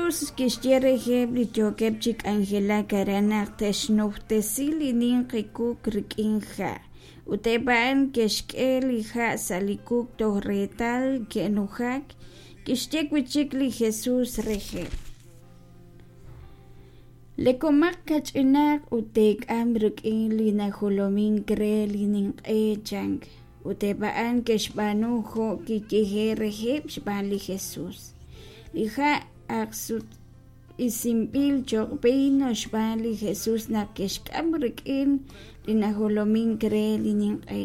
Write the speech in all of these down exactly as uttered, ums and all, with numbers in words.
Jesús kixye reheb' li yookeb' chi k'anjelak aran naq te'xnujtesi li ninqi kuk rik'in ha'. Ut eb' a'an ke'xk'e li ha' sa' li kuk toj reetal ke'nujak. Kixye wi' chik li Jesús reheb': Lekomaq kach'inaq ut teek'am rik'in li najolomink re li ninq'e, chan. Ut eb' a'an ke'xb'aanu jo' kiyehe'k reheb' xb'aan li Jesús. Li ha' ak sutq'isinb'il cho'q b'iin xb'aan li Jesus naq ke'xk'am rik'in li najolomink re li ninq'e,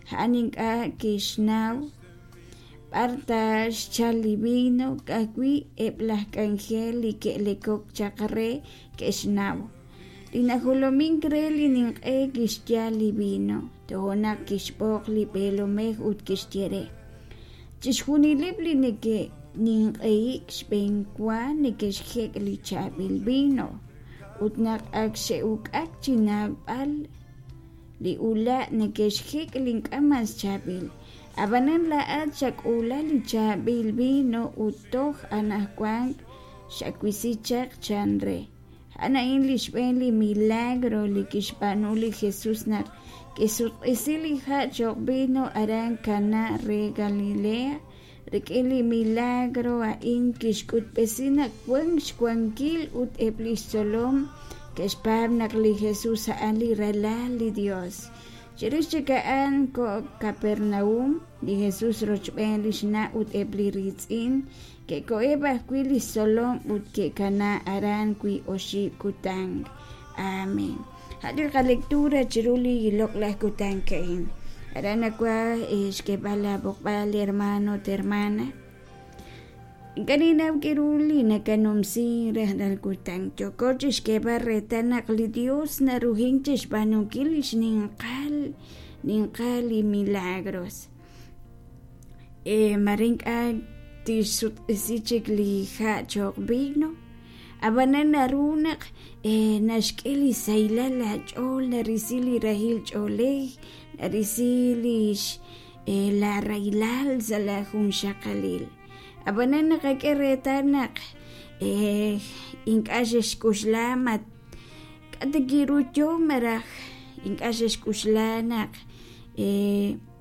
a'an ink'a' kixnaw b'ar ta xchalk li b'iin, ka'ajwi' eb' laj k'anjel li ke'lekok chaq re ke'xnaw. Li najolomink re li ninq'e kixyal li b'iin, toja' naq kixb'oq li b'eelomej ut kixye re: Chixjunileb' li neke'ninq'ehik xb'enwa neke'xjek' li chaab'il b'iin, ut naq ak xe'uk'ak chi naab'al li ula', neke'xjek' li ink'a' mas chaab'il. Ab'anan laa'at xak'uula li chaab'il b'iin ut toj anaqwan xawisi chaq, chan re. A'an a'in li xb'een li milagro li kixb'aanu li Jesús naq kixsutq'isi li ha' cho'q b'iin aran Caná re Galilea. Rik'in li milagro a'in kixk'utb'esi naq wank xwankil ut eb' li xtzolom ke'xpaab' naq li Jesús a'an li Ralal li Yos. Chirix chik a'an koho Kapernaúm li Jesús rochb'een li xna' ut eb' li riitz'in, ke'koheb' ajwi' li xtzolom ut ke'kanaak aran wiib' oxib' kutan. Amén. A' li qalectura chiru li loq'laj kutan a'in. Aran nawaj xk'eeb'al laab'oqb'al, hermano ut hermana. Ink'a' ninnaw k'aru li nakanumsi rajlal kutan. Yooko chi xk'eeb'al reetal naq li Yos naruhink chi xb'aanunkil li xninqal ninqal li milagros. Mare ink'a' tixsutq'isi chik li ha' cho'q vino, ab'anan naru naq naxk'e li sahilal laach'ool, narisi li rahil ch'oolej, narisi li laarahilal sa' laajunxaqalil. Ab'anan naqak'e reetal naq ink'a' xe'xk'oxla ma k'a' ta ru yo malaj ink'a' xe'xk'oxla naq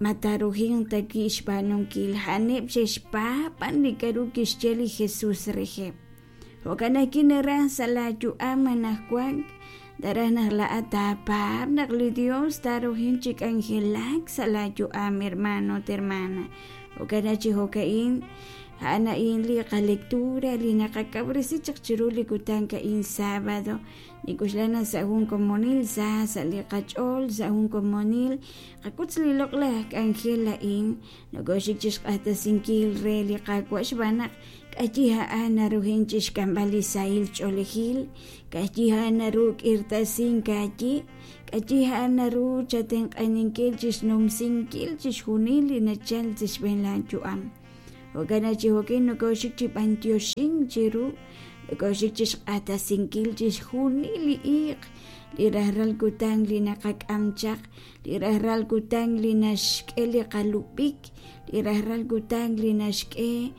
ma taaruhinq ta wi' xb'aanunkil. A'aneb' xe'xpaab' b'an li k'aru kixye li Jesús reheb'. Jo'kan ajwi' naraj sa' laayu'am anaqwan, naraj naq laa'at taapaab' naq li Yos taaruhinq chi k'anjelak sa' laayu'am, hermano ut hermana. Jo'kan naq chi jo'ka'in a'an a'in li qalectura li naqakawresi chaq chiru li kutan a'in sábado. Nink'oxla naq sa' jun komonil sa sa' li qach'ool, sa' jun komonil qakutz li loq'laj k'anjel a'in, nokooxik chi xq'axtesinkil re li Qaawa' xb'aan naq k'ayi a'an naruhin chi xk'amb'al li sahil ch'oolejil, k'ayi a'an naru k'irtasink aayi, k'ayi a'an naru chatenq'aninkil chi xnumsinkil chixjunil li nachalk sa' xb'een laayu'am. Jo'kan naq chi jo'kin nokooxik chi b'antioxink chiru, nokooxik chi xq'axtesinkil chixjunil li iiq, li rajlal kutan li naqak'am chaq, li rajlal kutan li naxk'e li qalub'ik, li rajlal kutan li naxk'e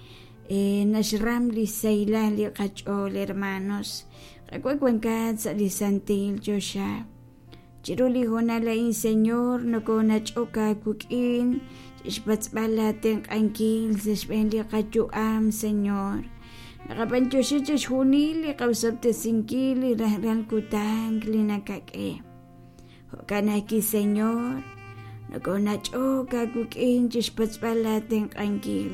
naxram li sahilal li qach'ool, hermanos. Qaawa' wankat sa' li santil choxa. Chiru li hoonal a'in, Señor, nokoonach'ok aawik'in chi xpatz'b'al laatenq'ankil sa' xb'een li qayu'am, Señor. Naqab'antioxi chixjunil li qaosob'tesinkil li rajlal kutan li nakak'e. Jo'kan ajwi', Señor, nokoonach'ok aawik'in chi xpatz'b'al laatenq'ankil.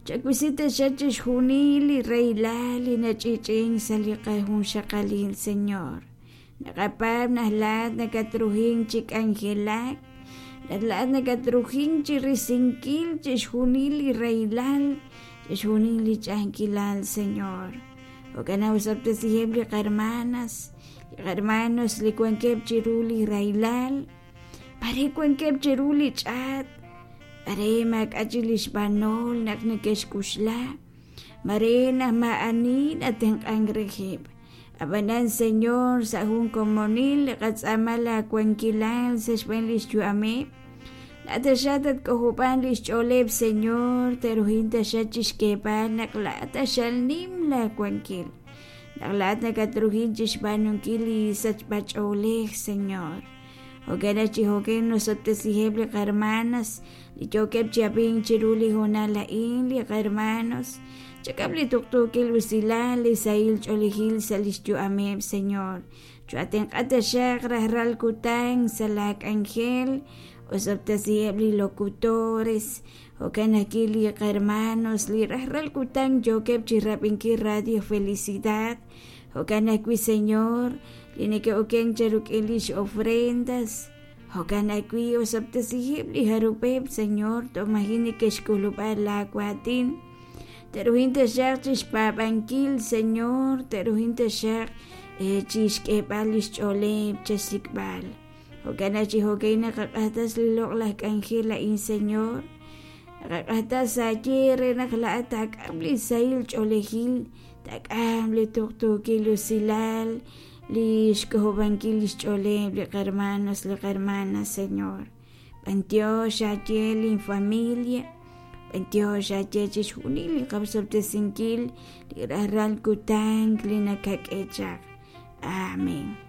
Chawisi taxaq chixjunil li rahilal li nach'i'ch'i'ink sa' li qajunxaqalil, Señor. Naqapaab' naq laa'at nakatruhink chi k'anjelak, naq laa'at nakatruhink chi risinkil chixjunil li rahilal, chixjunil li ch'a'ajkilal, Señor. Jo'kan naq osob'tesiheb' li qahermanas, li qahermanos li wankeb' chiru li rahilal, mare wankeb' chiru li ch'aat, mare maak'a' chik li xb'anol naq neke'xk'uxla, mare naq maa'ani natenq'ank reheb'. Ab'anan, Señor, sa' jun komonil li qatz'aama laawankilal sa' xb'een li xyu'ameb', Laa'at taxaq tatk'ojob'an lix ch'ooleb', Señor, te'ruhin taxaq chixk'eeb'al naq laa'at q'axal nim laawankil, naq laa'at nakatruhin chixb'aanunkil li sachb'ach'oolej, Señor. Jo'kan chi jo'kan nosob'tesiheb' li qahermanas li yookeb' chi ab'ink chiru li hoonal a'in, li qahermanos chak'am li tuqtuukil usilal, li sahil ch'oolejil sa' lix yu'ameb', Señor. Cho'atenq'a taxaq rajlal kutan sa' laa k'anjel, osob'tesiheb' li locutores, jo'kan ajwi' li qahermanos li rajlal kutan yookeb' chi rab'inkil Radio Felicidad, jo'kan ajwi', Señor, li neke'oken cheruk'in lix ofrendas, jo'kan ajwi' osob'tesiheb' li jarub'eb', Señor, toj maji' neke'xk'ulub'a laa waatin, te'ruhin taxaq chixpaab'ankil, Señor, te'ruhin taxaq chixk'eeb'al lix ch'ooleb' chesik'b'al. Jo'kan chi jo'kan naqaq'axtas li loq'laj k'anjel a'in, Señor, naqaq'axtas aaye re naq laa'at taak'am li sahil ch'oolejil, taak'am li tuqtuukil usilal, li xk'ojob'ankil lix ch'ooleb' li qahermanos, li qahermanas, Señor. B'antiox aaye lin familia, b'antiox aaye chixjunil li qasob'tesinkil li rajlal kutan li nakak'e chaq. Amén.